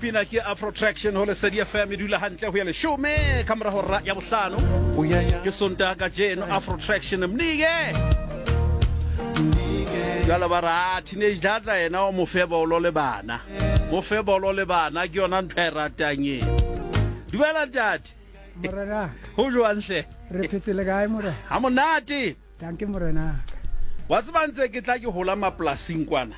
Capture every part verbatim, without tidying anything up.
Pina ke Afro Traction ho Lesedi F M e dula hantle ho ya leshome ka mora hora ya bohlano. Ke Sontaha kajeno Afro Traction mnike. Jwale ba ra teenage data yena o mo fe bolo le bana. Mo fe bolo le bana ke yona ntho e ratang e. Dumela ntate. Morena. Ho jwang hle? Re phetse le kae morena? Ha monate. Danke morena. Wa tseba ntse ke tla ke hola mapolasing kwana.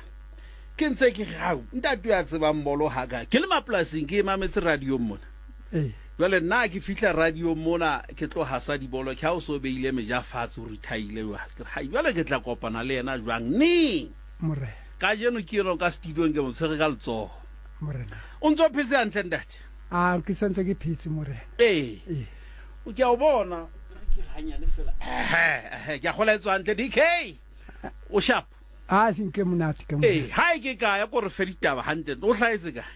Ke ntse ke re hao ntate ya tsebang bolo ha ka. Ke le mapolasing ke mametse radio mona. Eh. Jwale nna ke fihla radio mona ke tlo hasa dibolo ke ha o so beile meja fatshe o retire jwale. Ke re hai jwale ke tla kopana le yena jwang neng? Morena. Kajeno ke yena ka studio ke mo tshwere ka letsoho. Morena. O ntso phetse hantle ntate? Ah ke santse ke phetse morena. Eh. Eh. O ke a o bona ke hanyane fela. Eh ke a gola etswa hantle D K. O sharp. Ah sinke monate ke morena. Eh ha ke kae ko re fe ditaba hantle. O hlahetse kae?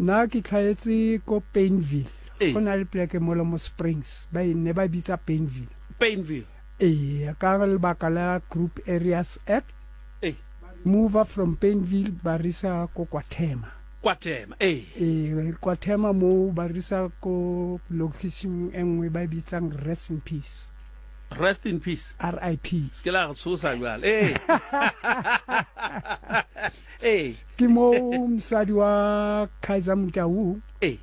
Nna ke hlahetse ko Painville. Go na le pleke mo mo Springs ba ne ba bitsa Painville. Painville. Eh ka lebaka la Group Areas Act. Eh mover from Painville ba risa ko Kwathema. Kwathema eh eh Kwathema mo ba risa ko location e nngwe ba bitsang Rest in Peace. Rest in Peace. R I P. Se la re tshosa jwale. Eh. Eh ke mo mosadi wa Kaizer Motaung. Eh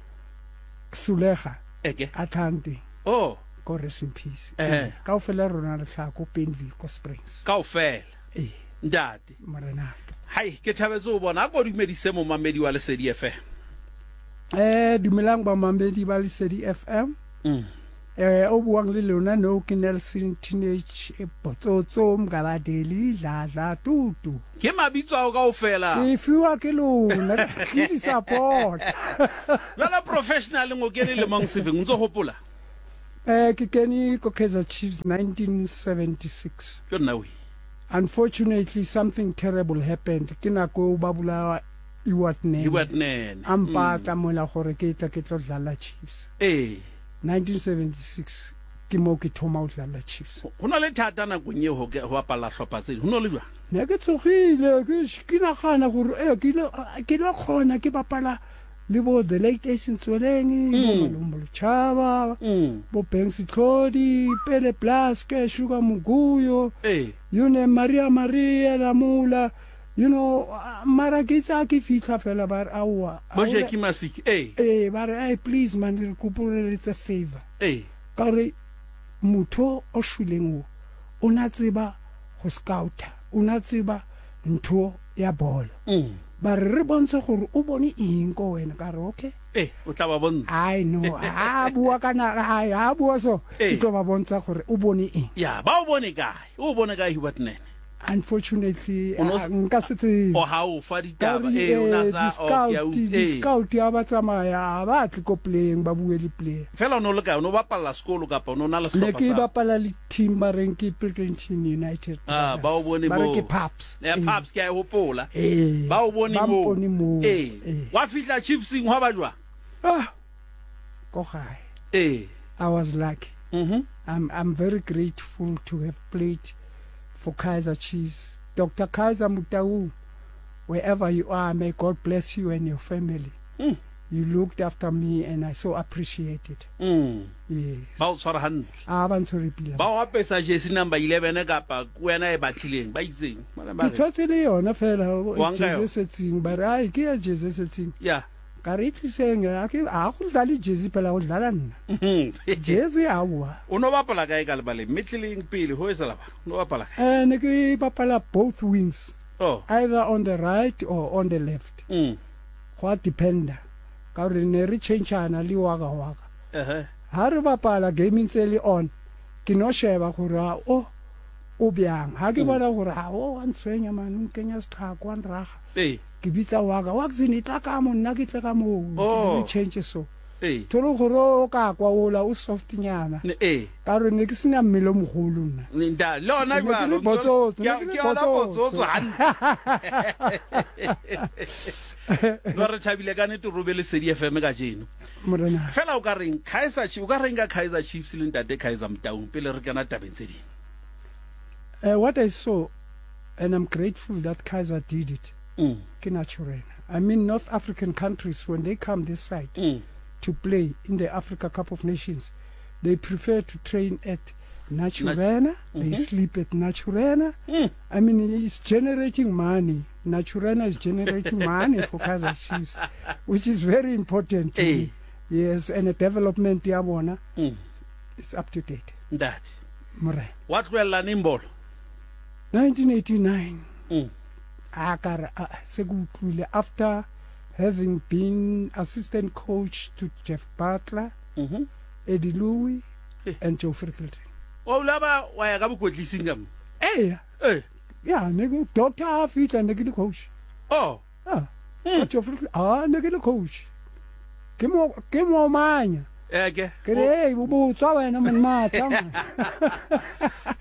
Sulega. Eke. Atlante. Oh, ko Rest in Peace. Eh. Kaofela rona re hlaha ko Painville ko Springs. Kaofela. Eh. Ntate. Morena. Hai, ke thabetse ho bona a ko dumedise momamedi wa Lesedi F M. Eh, dumelang ba mamedi ba Lesedi F M. Mm. Eh, o buang le lona no ke Nelson Teenage Botsotso Mgabadeli Dladla Tutu. Ke mabitso ao kaofela. Ke fiwa ke lona ke di support. Jwale professional ngo kene le mong sefeng ntso hopola. Eh ke kene ko Kaizer Chiefs nineteen seventy-six. Ke nna we. Unfortunately something terrible happened. Ke nako ba bula Ewart Nene. Ewart Nene. Ampatla mola gore ke tla ke tlo dlala Chiefs. Eh. nineteen seventy-six ke mo ke thoma ho dlala Chiefs. Ho na le thata nakong eo ho ho bapala hlopha tse. Ho no le jwang? Ne ke tsogile ke ke nagana gore eh ke ile ke lo khona ke bapala le bo the late Asen Tsweleng, bo Malombo Chaba, bo Banks Tlodi, Pele Blaske, Sugar Muguyo, eh you know Maria Maria Lamula, you know mara ke tsa ke fihla fela ba re aowa. Bo Jackie Masiki eh eh ba re please man re kopore it's a favor. Eh ka re motho o shweleng o o na tseba go scouta, o na tseba ntho ya bolo. Mm. Ba re re bontshe gore o bone eng ko wena ka re okay. Eh o tla ba bontsha. I know a bua kana ai a bua so ke tlo ba bontsha gore o bone eng. Ya ba o bone kae? O bone kae Hubert Nene? Unfortunately nka se tsebe. O ha o fa ditaba eh o na sa o ke a u scout ya ba tsamaya ba tle ko playing ba bue le player. Fela o no le kae o no bapalla sekolo kapa o no na le Ne sehlopha ke sa? bapala le team ba reng ke Pilkington United. Ah ba o bone ba re mo. ke Paps. Eh Paps ke a e hopola. Eh Ba o bone ba mo. mpone mo. Eh wa fihla Chiefsing hwa ba jwang? Ah ko gae. Eh I was lucky. Mhm. I'm I'm very grateful to have played for Kaizer Chiefs. Doctor Kaizer Motaung, wherever you are, may God bless you and your family. Mm. You looked after me and I so appreciate it. Mm. Yes. Ba o tshwara hantle. Ah ba ntshwere pila. Ba o apesa jersey number eleven kapa wena e batlileng ba itseng. Ke thotse le yona fela Wa nka jersey yona? setseng ba re ai ke ya jersey setseng. Ya. Ka re tliseng a ke a go dlala jersey phela go dlala nna. Mhm. Jersey aowa. O no bapala kae ka lebaleng? Metleleng pele ho etsahala ba? O no bapala kae? Eh ne ke bapala both wings. Oh. Either on the right or on the left. Mm. Go a dependa. Ka re ne re changeana le waka waka. Eh. Ha re bapala game ntse le on. Ke no sheba gore a o o byang. Ha ke bona gore ha o wa ntshwenya man o nkenya setlhako wa nraga. Eh. Ke bitsa waka wa ke tla ka mo nna ke tle ka mo. Oh. Re change so. Eh. Tholo gore o ka kwa ola o soft nyana. Ne eh. Ka re ne ke sena mmele o mogolo nna. Nda le ona Ne ke le jwalo. botsotso, Ke ne ke le ke ona botsotso. botsotso hantle. No re thabile ka nnete robe Lesedi F M kajeno. Morena. Fela o ka reng Kaizer Chiefs, o ka reng ka Kaizer Chiefs le ntate Kaizer Motaung pele re kena tabeng tse ding? Uh, what I saw, and I'm grateful that Kaizer did it. Mm. Ke naturena. I mean, North African countries, when they come this side mm. to play in the Africa Cup of Nations, they prefer to train at Naturena. Nat- They mm-hmm. sleep at Naturena. Mm. I mean, it's generating money. Naturena is generating money for Kaizer Chiefs, which is very important to hey. me. Yes, and the development ya bona mm. it's up to date. Ntate. Morena. Wa tlohella neng bolo? nineteen eighty-nine. Mm. A ka re, a, se ke utlwile after having been assistant coach to Jeff Butler, mm-hmm. Eddie Louis, eh. and Joe Frickleton. Wa ula ba wa ya ka bokwetlising ka mo? Eh. Eh. Yeah, ne ke doctor a fihla ne ke le coach. Oh. Ah. Mm. Ka Joe Frickleton, ah, ne ke le coach. Ke mo, ke mo manya. Eh, ke. Ke re, hey, bo botswa wena mon matla.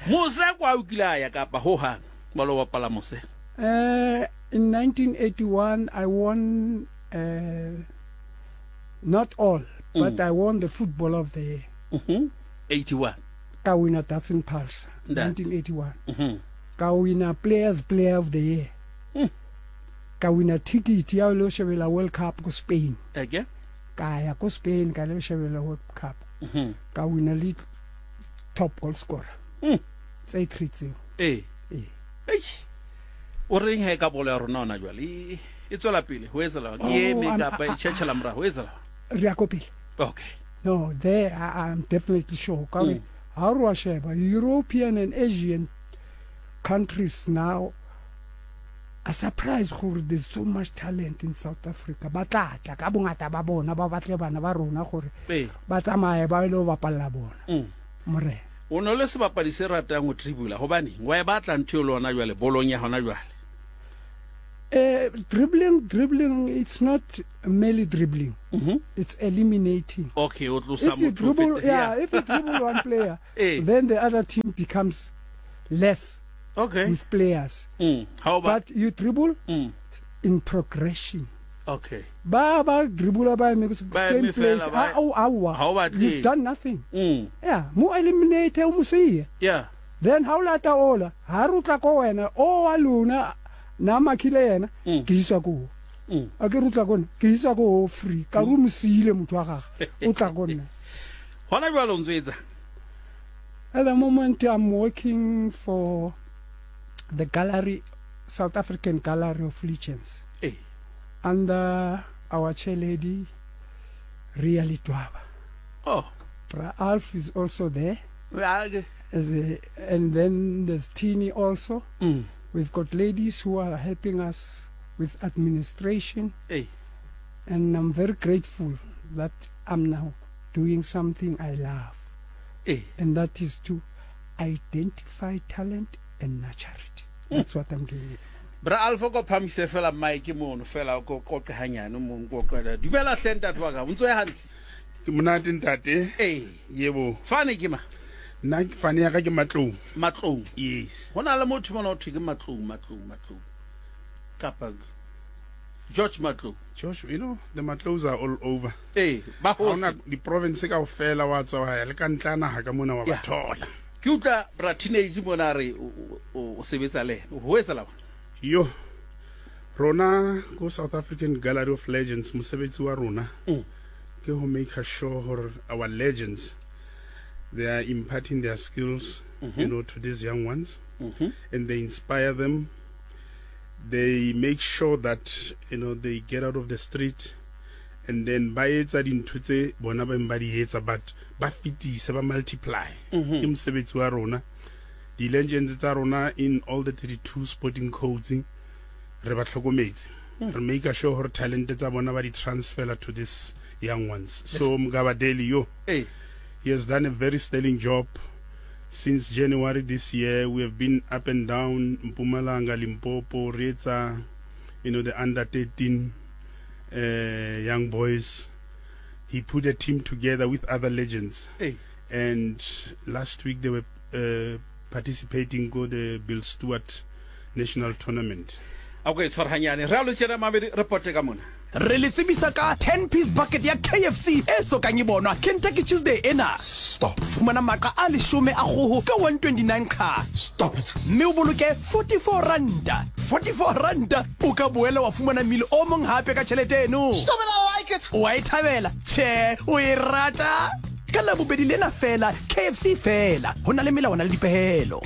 Mose kwa o kile a ya kapa ho hang ba lo bapala mose? Uh, in nineteen eighty-one, I won, uh, not all, mm. but I won the Footballer of the Year. Mm-hmm. eighty-one. Ka wina Datsun Pulse, nineteen eighty-one. Mm-hmm. Ka wina Players Player of the Year. Mm. Ka wina ticket ya lo shebela World Cup ko Spain. Okay. Ka ya ko Spain ka lo shebela World Cup. Mm-hmm. Ka wina le top goal scorer. Mm. Tse three tseo. Eh. Eh. Eish. O reng he ka bolo ya rona hona jwale? E, e tswela pele ho etsahala Oh, e eme I'm- kapa e tjhetjhela morao ho etsahala? Re ya ko pele. Okay. No, there I, I'm definitely sure. Ka Mm. ha re wa sheba European and Asian countries now are surprised gore there's so much talent in South Africa. Ba tla tla ka bongata ba bona ba batle bana ba rona gore Eh. ba tsamaye ba ile ho bapalla bona. Mm. Morena. O no le sebapadi se ratang ho dribula hobane wa e batla ntho eo le hona jwale bolong ya hona jwale. Eh, dribbling, dribbling, it's not merely dribbling. Mm-hmm. It's eliminating. Okay, o tlosa If you motho o dribble, fete- yeah, if you dribble one player, Eh. then the other team becomes less Okay. with players. Mm. How about But you dribble mm. in progression. Okay. Ba ba dribble ba eme Ba same eme place. fela, ba- Ah, oh, aowa. Ha o batle. You've done nothing. Mm. Yeah, mo eliminate o mo siye. Yeah. Then ha o lata ola, ha re o tla ko wena, o wa lona na makhile yena, Mm. ke iswa ko. Mm. A ke re o tla ko nna, ke iswa ko free. Ka re o mo siile motho wa gagwe, o tla ko nna. Hona jwale o ntso etsa? At the moment I'm working for the gallery, South African Gallery of Legends. Eh. Under our chair lady, Ria Litwaba. Oh. Bra Alf is also there. Ya ke. As a, and then there's Tini also. Mm. We've got ladies who are helping us with administration. Eh. And I'm very grateful that I'm now doing something I love. Eh. And that is to identify talent and nurture it. That's what I'm doing. Bra Alpha ko phamise fela mic mono fela ko qoqe hanyane mo nko Dumela hle ntate wa ka, o ntso ya hantle? Ke monate ntate. Eh. Yebo. Fane ke ma? Nna fane ya ka ke Matlou. Matlou. Yes. Ho na le motho mona o thwe ke Matlou, Matlou, Matlou. Kapa George Matlou. George, you know, the Matlous are all over. Eh, ba Ha hona hohle. di province kaofela wa tswa wa ya le ka ntla naha ka mona wa ba Yeah. thola. Ke utlwa bra teenage mona re o, o, o sebetsa le yena. Ho etsahala? Yo. Rona ko South African Gallery of Legends mosebetsi wa rona Mm. ke ho make sure hore our legends they are imparting their skills, Mm-hmm. you know, to these young ones, Mm-hmm. and they inspire them. They make sure that, you know, they get out of the street, and then ba etsa dintho tse bona ba ba di etsa, but ba fetisa, ba multiply. Mm-hmm. Ke mosebetsi wa rona. Di-legends tsa rona in all the thirty-two sporting codes re ba tlhokometse. Mm. Re make sure hore talent tsa bona ba di transfer to these young ones. So Mgabadeli yo, Eh. he has done a very sterling job. Since January this year, we have been up and down Mpumalanga, Limpopo, Retsa, you know, the under thirteen, uh, young boys. He put a team together with other legends. Eh. And last week they were, uh, participating go the Bill Stewart National Tournament. A ko e tshwara hanyane. Re a lo tjena mamedi, re pote ka mona. Re le tsebisa ka ten piece bucket ya K F C e sokang e bonwa Kentucky Tuesday ena. Stop. Fumana maqa a leshome a kgoho ka one twenty-nine ka. Stop it. Mme o boloke forty-four ranta. forty-four ranta o ka boela wa fumana mmele o mong hape ka tjhelete eno. Stop it, I like it. O a e thabela? Tjhe, o e rata? Ka Labobedi lena fela, K F C fela. Ho na le melawana le dipehelo.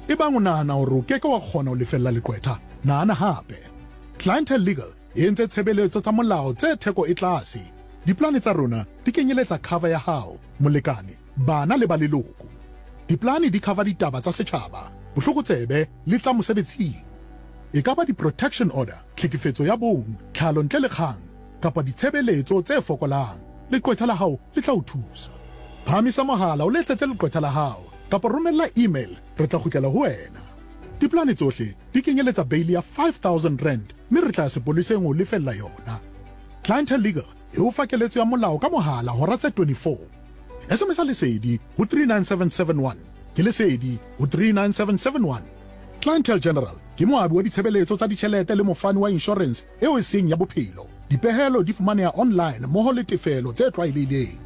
Ebang o nahana hore o keke wa kgona ho lefella leqwetha, nahana hape. Clientele Legal e entse tshebeletso tsa molao tse theko e tlase. Diplane tsa rona di kenyeletsa cover ya hao, molekane, bana le ba leloko. Diplane di cover ditaba tsa setjhaba, bohlokotsebe le tsa mosebetsing. E ka ba di-protection order, tlhekefetso ya bong, tlhalo ntle le kgang, kapa ditshebeletso tse fokolang. Leqwetha la hao le tla o thusa. Phahamisa mohala o letsetse leqwetha la hao kapa romella email, re tla kgutlela ho wena. Diplane tsohle di kenyeletsa bail ya five thousand rand mme re tla sepoleseng ho lefella yona. Clientele Legal e o fa keletso ya molao ka mohala hora tse twenty-four. S M S Lesedi ho three nine seven seven one. Ke Lesedi ho three nine seven seven one. Clientele General ke moabi wa ditshebeletso tsa ditjhelete le mofani wa insurance eo e seng ya bophelo. Dipehelo di fumaneha online mmoho le tefelo tse tlwaelehileng.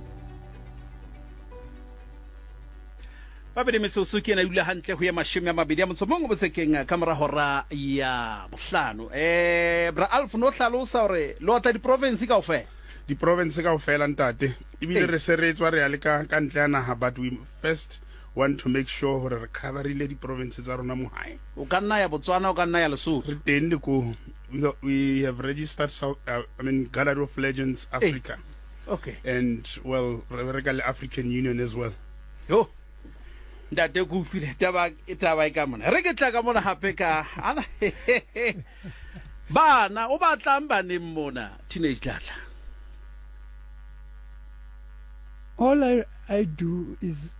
Babedi metsotso ke ena e dula hantle ho ya mashome a mabedi a motso mong botsekeng ka mora hora ya bohlano. Eh bra Alf no hlalosa hore le otla di-province kaofela. Di-province kaofela ntate. Ebile re se re tswa re ya le ka ka ntle ya naha, but we first want to make sure hore re coverile di-province tsa rona mo hae. O ka nna ya Botswana, o ka nna ya Lesotho. Re teng le ko. We, we have registered South, uh, I mean Gallery of Legends Africa. Hey. Okay. And well, re bereka le African Union as well. Yo. Ntate ke utlwile taba taba e ka mona. Re ke tla ka mona hape ka ana. Bana o batlang baneng mona Teenage Dladla. All I, I do is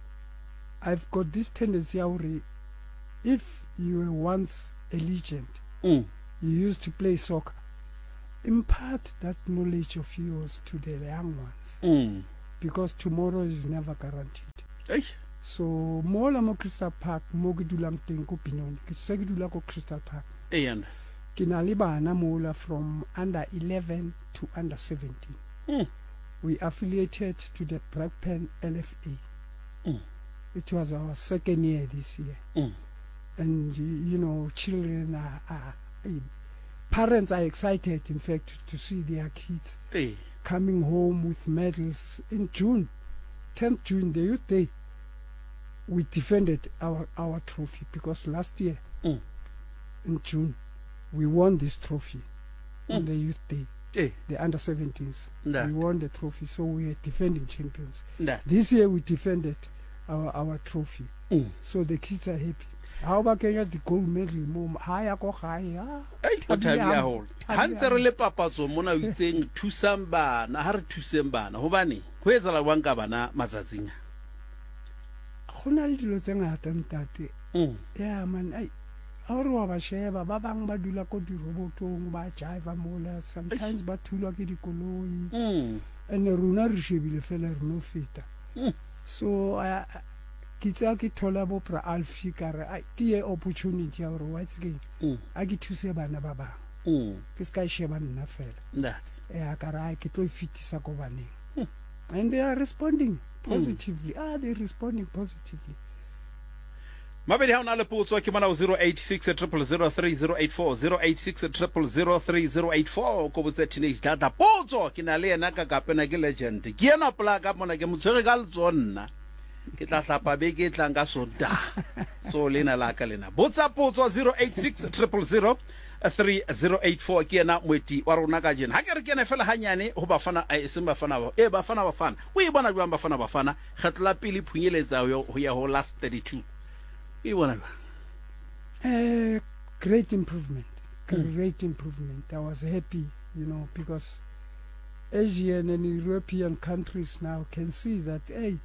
I've got this tendency already. If you were once a legend, mm. you used to play soccer, impart that knowledge of yours to the young ones. Mm. Because tomorrow is never guaranteed. Hey. So mola mo Crystal Park mo ke dulang teng ko Benoni, ke se ke dula ko Crystal Park. Eya. Ke na le bana mola from under eleven to under seventeen. Mm. We affiliated to the Brakpan L F A. Mm. It was our second year this year. Mm. And you know, children are, are parents are excited, in fact, to see their kids hey. coming home with medals. In June, tenth June, the Youth Day, we defended our, our trophy, because last year, mm. in June, we won this trophy mm. on the Youth Day, hey. the under seventeens. Nah. We won the trophy, so we are defending champions. Nah. This year, we defended our, our trophy. Mm. So the kids are happy. How about the gold medal mo ha ya ko gae ah o thabile haholo. Ha ntse re le papatso mona o itseng thusang bana, ha re thuseng bana hobane ho etsahala jwang ka bana matsatsing a? Go na le dilo tse ngata ntate. Mm. Yeah man, ai ha re wa ba sheba ba bang ba dula ko dirobotong ba jive mola, sometimes ba thulwa ke dikoloi. Mm. And rona re shebile fela re no feta. Mm. So I ke tsa ke thola bo bra Alfie ka re ai ke ye opportunity ya hore wa tsekeng a ke thuse bana ba bang. Mm. Ke ska sheba nna fela. Ntate. Eh ka re ai ke tlo fitisa ko baneng. And they are responding positively. Mm. Ah, they responding positively. Mabedi ha ona le potso ke mona zero eight six triple zero three zero eight four, zero eight six triple zero three zero eight four ko botse Teenage Dladla potso ke na le yena ka kapena ke legend. Ke yena plaka mona ke motshwere ka letsonna. Ke tla hlapa beke e tlang ka Sontaha. So lena la ka lena. Botsa potso zero eight six triple zero three zero eight four ke yena moeti wa rona ka jeno. Ha ke re ke ene fela hanyane ho Bafana e seng Bafana ba. E Bafana Bafana. O e bona jwang Bafana Bafana? Kgetlo la pele phunyeletsa ho ya ho last thirty-two. E bona jwang? Eh great improvement. Great mm. improvement. I was happy, you know, because Asian and European countries now can see that hey,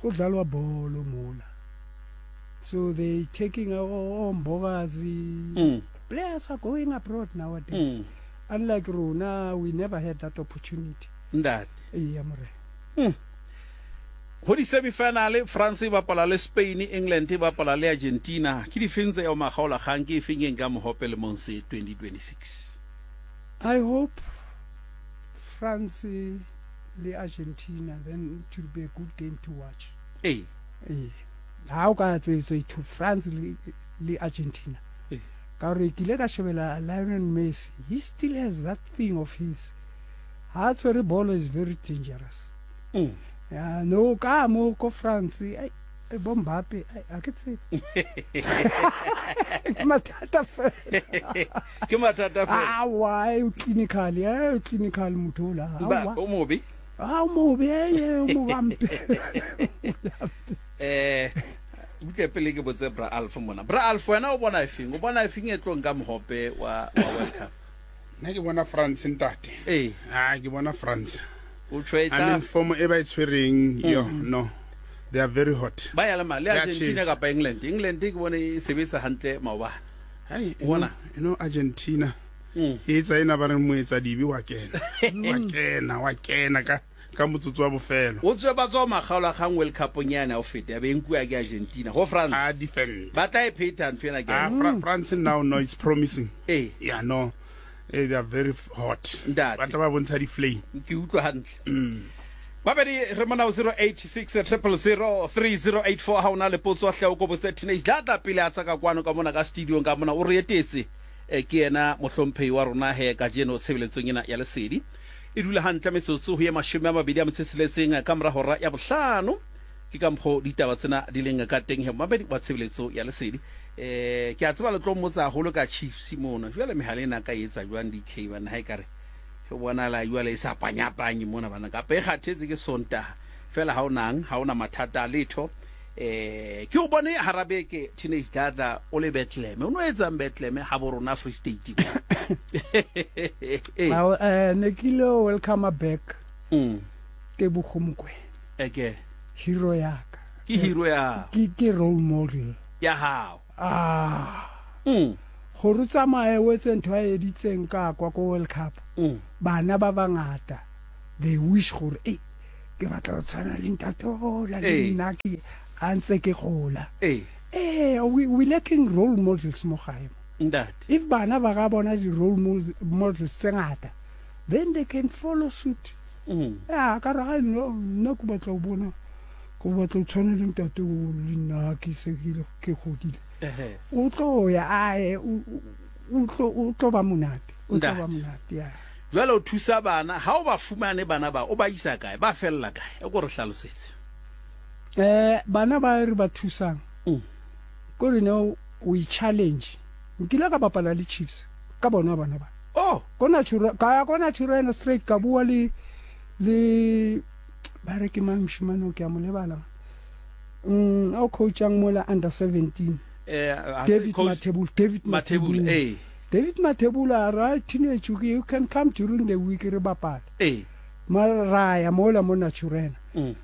go dlalwa bolo mola. So they taking our own Mbokazi. Mm. Players are going abroad nowadays. Mm. Unlike rona, we never had that opportunity. That. Yeah, more. Mm. Ho di-semifinale France e bapala le Spain, England e bapala le Argentina. Ke difeng tse eo makgaolakgang, ke efeng e nka mohope le Monse twenty twenty-six? I hope France le Argentina, then it will be a good game to watch. Ee. Ee. Ha o ka tse to France le, le Argentina. Ee. Ka hore ke ile ka shebela Lionel Messi, he still has that thing of his. Ha tshwere bolo is very dangerous. Mm. Ya no ka mo ko France, ai bo Mbappe, ai a ke tsebe. Ke mathata fela. Ke mathata fela. Awa, o clinical, eh, o clinical motho la. Ba o mobe. Ah, o mobe, eh, o mobampe. Eh, butle pele ke botse Bra Alf mona. Bra Alf, wena o bona efeng? O bona efeng e tlo nka mohope wa wa World Cup? Nna ke bona France ntate. Eh. Ah, ke bona France. O tshwetsa. I mean form e ba e tshwereng, yo, no. They are very hot. Ba ya le ma le Argentina kapa England. England ke bone e sebetsa hantle maobane. Hai, bona, you know Argentina. E etsa ena ba re moetsa dibe wa kena. Wa kena, wa kena ka ka motsotso wa bofelo. O tswe ba tswa makgaola kgang World Cup nyana o fete ya be nkuwa ke Argentina go France. Ah, defend. Ba tla e pheta ntho ena ke. Ah, Fra France now no it's promising. Eh. Yeah, no. Eh, they are very hot. Ntate. Ba tla ba bontsha di flame. Ke utlwa hantle. Babedi re mona zero eight six triple zero three zero eight four ha ona le potso hle o kobotse Teenage Dladla pele a tsaka kwano ka mona ka studio ka mona o re etetse ke yena mohlomphehi wa rona he ka jeno tshebeletsong ena ya lesedi e dula hantle metsotso ho ye mashome a mabedi a metso e tsheletseng ka mora hora ya bohlano ke ka mokgo ditaba tsena di leng ka teng he mabedi wa tshebeletso ya lesedi. Eh ke a tseba le tlo mmotsa haholo ka Chiefs mona jwale mehala ena ka etsa jwang D K bana ha e kare ho bonala jwale e sa panyapanye mona bana kapa e kgathetse ke Sontaha fela ha o nang ha ona mathata a letho. Eh ke o bone harabeke Teenage Dladla o le Bethlehem o no etsang Bethlehem ha bo rona Free State. Eh eh ne ke ile welcome back. Mm. Tebogo Mokoena. Eke hero ya ka. Ke hero ya. Ke ke role model ya hao. Ah. Mm. Gore tsamaye o etse ntho a editseng ka kwa ko World Cup. Mm. Bana ba bangata they wish gore eh ke batla go tshwana le ntate ola le nna ke a ntse ke gola. Eh. Eh we we lacking role models mo gae. Ntate. If bana ba ga bona di role models tse ngata then they can follow suit. Mm. Ya ka ra no nna ke batla go bona go batla go tshwana le ntate o le nna ke se ke godile. Eh. O tlo ya ae o tlo o tlo ba monate. O tlo ba monate ya. Jwale o thusa bana ha o ba fumane bana ba o ba isa kae ba fella kae e go re hlalosetse. Eh bana ba re ba thusang. Mm. Ko re no we challenge. Nkile ka bapala le Chiefs ka bona bana ba. Oh, kona chura ka ya kona chura straight ka bua le le ba re ke mang moshimane ke a mo lebala. Mm o coachang mola under seventeen. Eh David Mathebula, David Mathebula, eh. David Mathebula right teenage you can come during the week re bapala. Eh. Mara ya mola mo Naturena. Mm.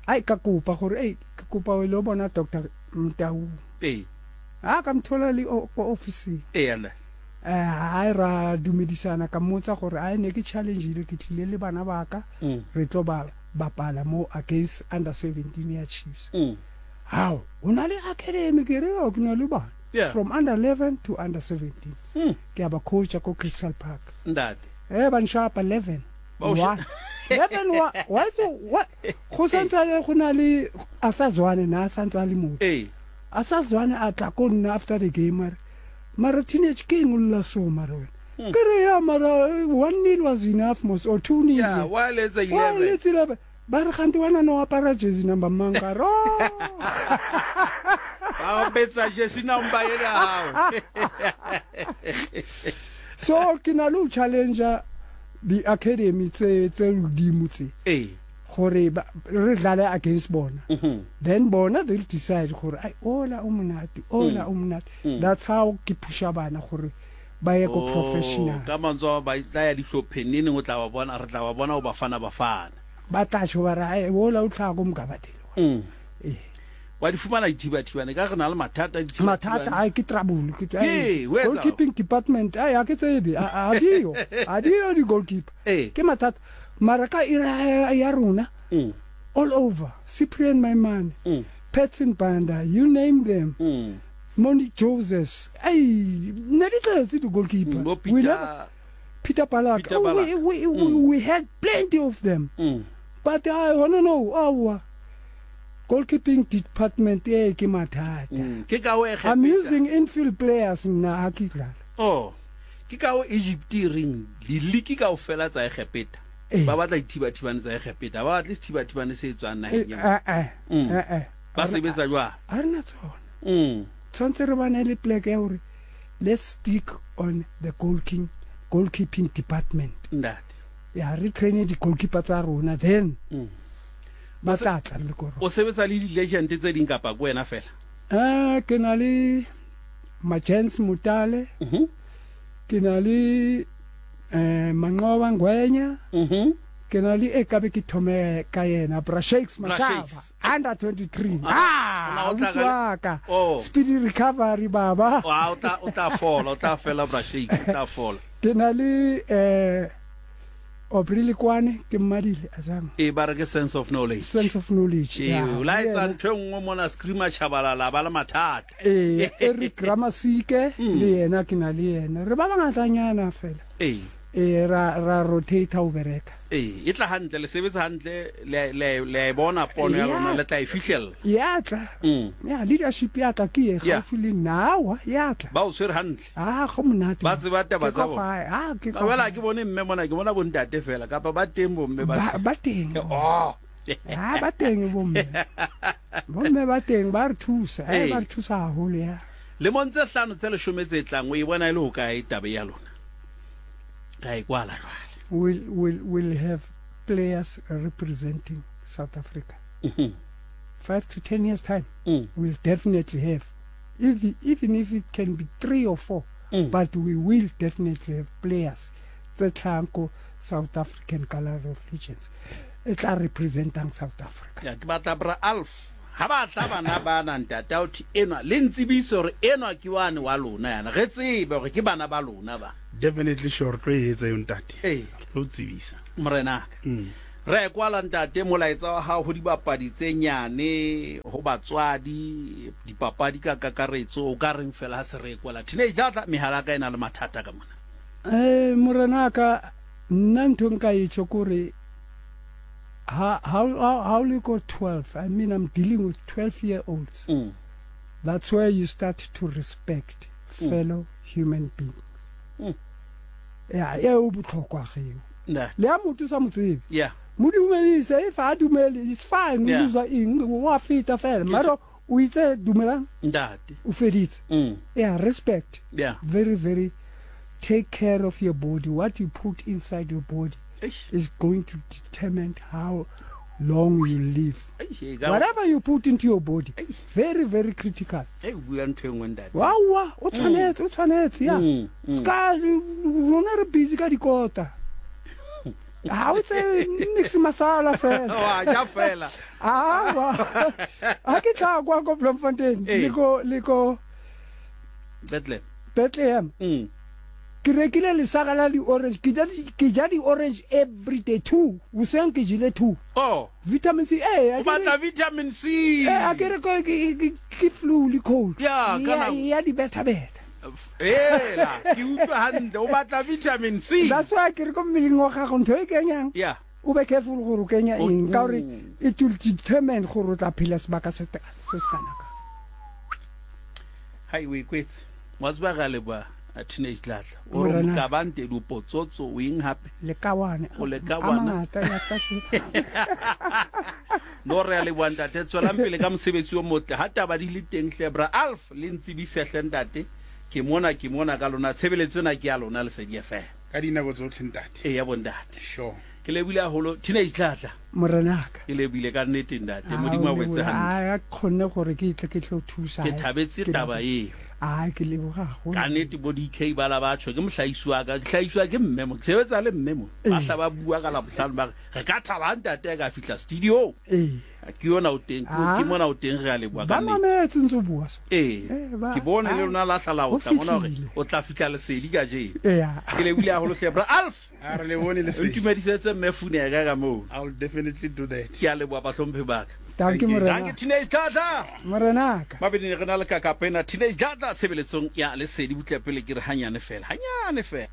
Ai ka kopa gore eh ke kopa o ile bona Doctor Mtau. Eh. A ka mthola le ko office. Eh ala. Eh ha ra dumedisana ka mmotsa gore ai ne ke challenge ile ke tlile le bana ba ka re tlo ba bapala mo against under seventeen ya Chiefs. Mm. How? O na le academy ke re o ke na le bana. Yeah. From under eleven to under seventeen. Mm. Ke ba coach ko Crystal Park. Ntate. Eh ba nshapa eleven. Wa. eleven wa wa so wa go santse go na le Afazwane na santse le motho. Eh. Asazwane a tla ko nna after the game mare. Mara teenage king o lla so mara wena. Ke re ya mara one nil was enough mos or two nil. Yeah, wa letsa eleven. Wa letsa eleven. Ba re gante wena no apara jersey number mang ka ro. Ba betsa jersey number ena hao. So ke na le challenger the academy tse tse hodimo tse. Eh. Gore re dlale against bona. Mm-hmm. Then bona they'll decide gore ai ola o monate, ola o monate. That's how ke pusha bana gore ba ye ko professional. Ka mantswe ba tla ya dihlopheng neng o tla ba bona re tla ba bona o bafana bafana. Ba tla tjho ba re ai ola o tla go mkabadele. Mm. Eh. Wa di fumana dithibathibane ka re na le mathata dithibathibane. Mathata ai ke trouble ke Ke, o etsa? Goalkeeping department ai ha ke tsebe a dio a dio di goalkeeper. Eh. Ke mathata mara ka ira ya rona. Mm. All over. Cyprian Maimane, Mm. Patson Banda, you name them. Mm. Monique Josephs. Hey, ne di tletse di-goalkeeper. Mm, bo We Peter never, Peter Balak. Peter Oh, Balak. We, we, we, we had plenty of them. Mm. But I wanna know, our goalkeeping department eh ke mathata. Mm. Ke ka ho I'm Egepeta. using infield players nna ha ke dlala. Oh. Ke ka ho Egypt e reng diliki kaofela tsa Egepeta. Eh. Ba batla dithibathibane tsa Egepeta. Ba batle sethibathibane se tswang Eh, naheng ya bona. eh, eh, Mm. eh, eh. Ba sebetsa jwang? Ha re na tsona. Mm. Tshwanetse re bane le plek ya hore let's stick on the goalkeeping goalkeeping department. Ntate. Ya re train di-goalkeeper tsa rona then Mm. ba tla tla le koro. O sebetsa le di-legend tse ding kapa ke wena fela? Eh ke na le Majens Mutale, Mhm. ke na le eh Manqoba Ngwenya, Mhm. ke na le e kabe ke thome ka yena Bra Shakes Bra Mashaba Shakes. under twenty-three. Ah, Ah, o tla ka le- abuti wa ka. Oh. Speedy recovery baba. Wa o tla o tla fola, o tla fela Bra Shakes, o tla fola. Ke na le eh Aubrey Lekwane ke mmadile azang E ba re ke sense of knowledge. sense of knowledge. Ee, ya, o la le etsa yena. ntho e nngwe mona screamer Tshabalala ba le mathata. Eh Eric Ramasike le yena ke na le yena. Re ba bangatanyana fela. Ee. Eh ra ra rotate ho bereka. Ee, e tla hantle, le sebetsa hantle, le le le a e bona pono ya Ya. lona, le tla e fihlella. Ya tla. Mm. Ya leadership ya tla ke e Ya. gaufi le nna awa ya tla. Ba o tshwere hantle. Ah go monate. Ba tseba taba Ke tsa ka bona. fae. Ah ke ka Ba bela fae. ke bone mme mona, ke bona bontate fela kapa ba teng bomme ba Ba se- ba teng. Oh. Ah ba teng bomme. Bomme ba teng ba re thusa. Ee. Eh ba re thusa haholo ya. Lemong tse hlano tse leshome tse tlang o e bona e le hokae taba ya lona? Ka e kwala jwale. We'll will will have players representing South Africa. Mhm. Five to ten years time. Mm. We'll definitely have, if, even if it can be three or four, Mm. but we will definitely have players tse tlhahang ko South African Gallery of Legends e tla representang South Africa. Ya, ke batla Bra Alf. Ha ba tla bana bana ntate a ho thwe enwa le ntsebise hore enwa ke wane wa lona yana. Re tsebe hore ke bana ba lona ba. Definitely sure re tlo e etsa eo ntate. Ee. Re tlo o tsebisa. Morenaka. Mm. Re e kwala ntate molaetsa wa hao ho dibapadi tse nyane, ho batswadi, dipapadi ka kakaretso, o ka reng fela ha se re e kwala. Teenage Dladla mehala ya ka e na le mathata ka mona. Eh morenaka nna ntho nka e tjho kore ha ha ha o le ko twelve, I mean I'm dealing with twelve year olds. Mm. That's where you start to respect Mm. fellow human beings. Mm. Ya eo botlhokwa geo. Ntate. Le ha motho o sa mo tsebe. Yeah. Mo dumedise, if a dumele, it's fine, o Yeah. loser eng, wa feta fela. Mara o itse dumelang, Ntate. o feditse. Mm. Yeah, respect. Yeah. Very, very take care of your body. What you put inside your body Eish. is going to determine how long you live. Eish, e ka- Whatever you put into your body, Eish. very, very critical. Ei, o bua ntho e nngwe ntate. Wawa, o tshwanetse, o tshwanetse, ya. Mm, mm. Ska rona re busy ka dikota. Ha o tsebe nix masala fela. Wa ja fela. Awa. Ha ke tla kwa ko Bloemfontein, Ee. le ko le ko Bethlehem. Bethlehem. Mm. Ke rekile lesaka la di-orange, ke ja di- ke ja di-orange every day two. Hoseng ke jele two. Oh, Vitamin C, eh, o a ke re- batla vitamin C. eh, a ke re ko- ke ke- ke flu le cold. Ya, ka Ya- nako- ya di-beta-beta. Ela, ke utlwa hantle, o batla vitamin C. That's why ke re ko mmeleng wa gago ntho e kenyang Yeah. o be careful gore o kenya O- eng ka gore Mm. it will determine gore o tla phela sebaka se se se kana kang. Hai o ikwetse. Wa tseba re a leboha a Teenage Dladla. O re Morena. mokabante dipotsotso o eng hape? Lekawane. O A lekawana. mangata ya tsa ke. No re a leboha ntate, tswelang pele ka mosebetsi o motle. Ha taba di le teng hle Bra Alf le ntsebise hle ntate. Ke mona ke mona ka lona tshebeletso ena ke ya lona Lesedi F M. Ka dinako tsotlhe ntate. E ya bontate. Sure. Ke lebohile haholo Teenage Dladla. Morenaka. Ke lebohile ka nnete ntate. Modimo a o etse hantle. A kgonne gore ke tle ke tlo thusa. Ke thabetse Ke taba eo. A ke leboga haholo. Ka nnete bo D K ba la batho ke mohlaisi wa ka, ke hlahiswa ke mme mo, ke sebetsa le mme mo. Ba hla ba bua ka Labohlano ba re, re ka thaba ha ntate a ka fihla studio. Ee, Ke yona o teng, ke mona o teng re a leboha ka nnete. Ba mametse ntse o bua so. Ee, ke bone le lona la hlala o tla mona hore o tla fihla lesedi kajeno. Ke lebohile haholo hle bra Alf. A re le bone lesedi. Ntumedisetse mme Funeka ka moo. I'll definitely do that. Ke a leboha bahlomphe ba ka. Danke morena. Danke Teenage Dladla. Morenaka. Mabedi re na le kakapena Teenage Dladla tshebeletsong ya lesedi butle pele ke re hanyane fela. Hanyane fela.